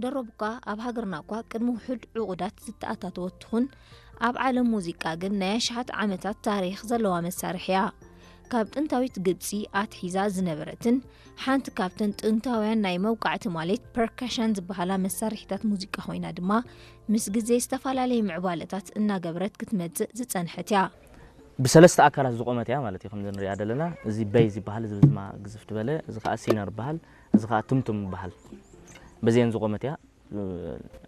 ደሮቡካ ኣብ ሃገርና እኳ ቅድሚ ውሑድ ዕቑዳት ዝተኣታተወት ትኹን፣ ኣብ ዓለም ሙዚቃ ግን ናይ ኣሽሓት ዓመታት ታሪኽ ዘለዋ መሳርሒ እያ። ካብ ጥንታዊት ግብጺ ኣትሒዛ ዝነበረትን ሓንቲ ካብተን ጥንታውያን ናይ መውቃዕቲ ማለት ፐርከሽን ዝበሃላ መሳርሒታት ሙዚቃ ኮይና ድማ ምስ ግዜ ዝተፈላለየ ምዕባለታት እናገበረት ክትመጽእ ዝጸንሐት እያ። ብሰለስተ ኣካላት ዝቆመት እያ ማለት እዩ። ከምዚ ንሪኣ ዘለና እዚ በይዝ ይበሃል፣ እዚ ብዝማ ግዝፍ ዝበለ፣ እዚ ከዓ ሲነር ይበሃል፣ እዚ ከዓ ቱምቱም ይበሃል። በዚአን ዝቆመት እያ።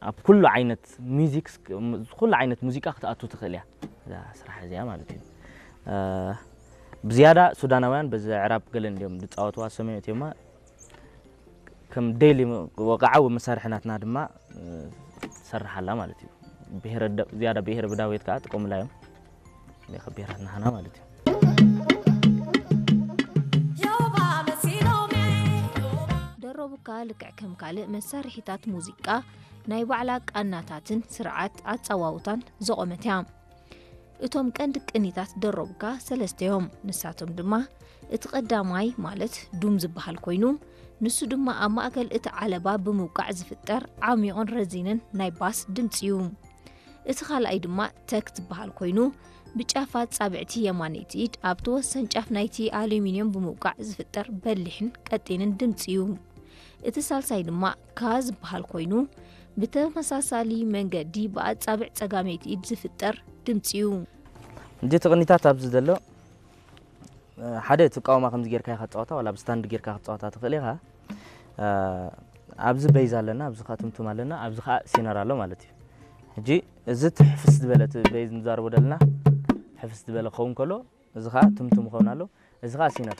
ኣብ ኩሉ ዓይነት ሚዚክ፣ ኩሉ ዓይነት ሙዚቃ ክትኣቱ ትኽእል እያ እዛ ስራሕ እዚኣ ማለት እዩ። ብዝያዳ ሱዳናውያን በዚ ዕራብ ገለን እዮም ዝፃወትዋ፣ ሰሜን እትዮማ ከም ዴይሊ ወቃዓዊ መሳርሒ ናትና ድማ ትሰርሓላ ማለት እዩ። ዝያዳ ብሄረ ብዳውየት ከዓ ጥቀሙላ እዮም። ካብ ብሄራት ናህና ማለት እዩ። ደሮቡካ ልክዕ ከም ካልእ መሳርሒታት ሙዚቃ ናይ ባዕላ ቃናታትን ስርዓት ኣጸዋውታን ዘቖመት እያ። እቶም ቀንዲ ቅኒታት ደሮቡካ ሰለስተ እዮም። ንሳቶም ድማ እቲ ቀዳማይ ማለት ዱም ዝበሃል ኮይኑ፣ ንሱ ድማ ኣብ ማእከል እቲ ዓለባ ብምውቃዕ ዝፍጠር ዓሚቑን ረዚንን ናይ ባስ ድምጺ እዩ። እቲ ካልኣይ ድማ ተክ ዝበሃል ኮይኑ፣ ብጫፋት ጻብዕቲ የማነይቲ ኢድ ኣብቲ ወሰን ጫፍ ናይቲ ኣሉሚንዮም ብምውቃዕ ዝፍጠር በሊሕን ቀጢንን ድምጺ እዩ። እቲ ሳልሳይ ድማ ካ ዝበሃል ኮይኑ፣ ብተመሳሳሊ መንገዲ ብኣጻብዕ ጸጋመይቲ ኢድ ዝፍጠር ድምጺ እዩ። እንጂ ትቕኒታት ኣብዚ ዘሎ ሓደ ትቃወማ ከምዚ ጌርካ ኢኻ ትጻወታ፣ ዋላ ብስታንድ ጌርካ ክትጻወታ ትኽእል ኢኻ። ኣብዚ በይዝ ኣለና፣ ኣብዚ ከዓ ትምቱም ኣለና፣ ኣብዚ ከዓ ሲነር ኣሎ ማለት እዩ። ሕጂ እዚ ትሕፍስ ዝበለ እቲ በይዝ ንዛረቦ ዘለና ሕፍስ ዝበለ ክኸውን ከሎ፣ እዚ ከዓ ትምቱም ይኸውን ኣሎ፣ እዚ ከዓ ሲነር።